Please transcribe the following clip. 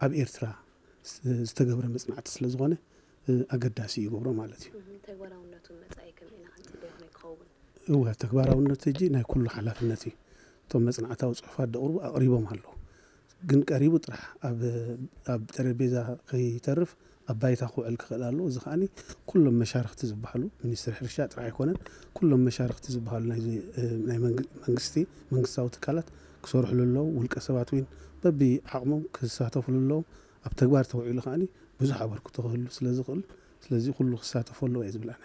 ኣብ ኤርትራ ዝተገብረ መፅናዕቲ ስለ ዝኾነ ኣገዳሲ ይገብሮ ማለት እዩ። ተግባራውነቱ መፃኢ ከምና ክንፅበዮ ከመይ ክኸውን? እወ፣ ተግባራውነት ሕጂ ናይ ኩሉ ሓላፍነት እዩ። እቶም መፅናዕታዊ ፅሑፋት ደቕርቡ ኣቕሪቦም ኣለዉ። ግን ቀሪቡ ጥራሕ ኣብ ጠረጴዛ ከይተርፍ ኣብ ባይታ ክውዕል ክኽእል ኣለዎ። እዚ ከዓኒ ኩሎም መሻርክቲ ዝበሃሉ፣ ሚኒስትሪ ሕርሻ ጥራሕ ኣይኮነን፣ ኩሎም መሻርክቲ ዝበሃሉ ናይ መንግስቲ መንግስታዊ ትካላት ክሰርሕሉ ኣለዉ። ውልቀ ሰባት እውን በቢ ዓቕሞም ክሳተፍሉ ኣለዎም። ኣብ ተግባር ተውዒሉ ከዓኒ ብዙሕ ኣበርክቶ ክህሉ ስለ ዝኽእል፣ ስለዚ ኩሉ ክሳተፉ ኣለዎ እየ ዝብል ኣነ።